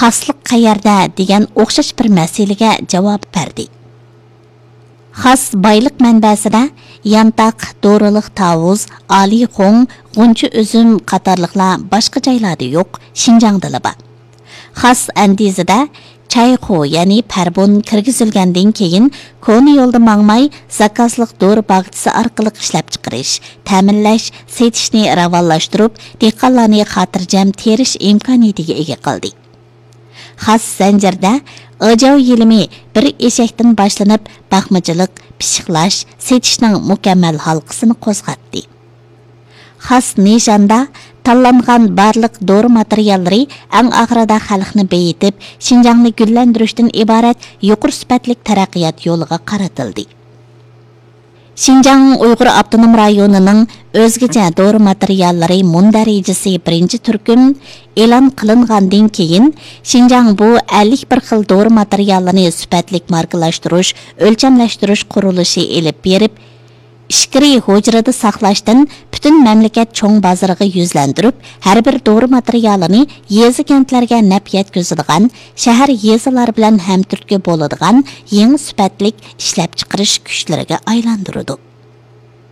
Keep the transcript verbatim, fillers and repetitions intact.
خاسلىق قەيەردە دېگەن ئوخشاش بىر مەسىلىگە جاۋاب بەردى. خاس بايلىق مەنبەسىدە يانتاق، دورىلىق تاۋۇز، ئالىخوڭ، غۇنچە ئۈزۈم قاتارلىقلار باشقا جايلاردا يوق، شىنجاڭدىلا بار. خاس ئەندىزىدە چايخۇ، يەنى پەربۇن كىرگۈزۈلگەندىن كېيىن، كونا يولدا ماڭماي، زاكازلىق دورا باغچىسى ئارقىلىق ئىشلەپچىقىرىش، تەمىنلەش، سېتىشنى راۋانلاشتۇرۇپ، دېھقانلارنى خاتىرجەم تېرىش ئىمكانىيىتىگە ئىگە قىلدى. خاس زەنجىرىدە ئاجاۋ يېلىمى بىر ئېشەكتىن باشلىنىپ، باقمىچىلىق، پىششىقلاش، سېتىشنىڭ مۇكەممەل ھالقىسىنى قوزغاتتى. خاس نىشاندا تاللانغان بارلىق دورا ماتېرىياللىرى ئەڭ ئاخىرىدا خەلقنى بېيىتىپ، شىنجاڭنى گۈللەندۈرۈشتىن ئىبارەت يۇقىرى سۈپەتلىك تەرەققىيات يولىغا قارىتىلدى. شىنجاڭ ئۇيغۇر ئاپتونوم رايونىنىڭ ئۆزگىچە دورا ماتېرىياللىرى مۇندەرىجىسى بىرىنچى تۈركۈم ئېلان قىلىنغاندىن كېيىن، شىنجاڭ بۇ ئەللىك بىر خىل دورا ماتېرىيالىنى سۈپەتلىك ماركىلاشتۇرۇش، ئۆلچەملەشتۈرۈش قۇرۇلۇشى ئېلىپ بېرىپ، ئىچكىرى ھۇجرىدا ساقلاشتىن پۈتۈن مەملىكەت چوڭ بازىرىغا يۈزلەندۈرۈپ، ھەر بىر دورا ماتېرىيالىنى يېزا، كەنتلەرگە نەپ يەتكۈزىدىغان، شەھەر، يېزىلار بىلەن ھەمتۈرتكە بولىدىغان يېڭى سۈپەتلىك ئىشلەپچىقىرىش كۈچلىرىگە ئايلاندۇرىدۇ.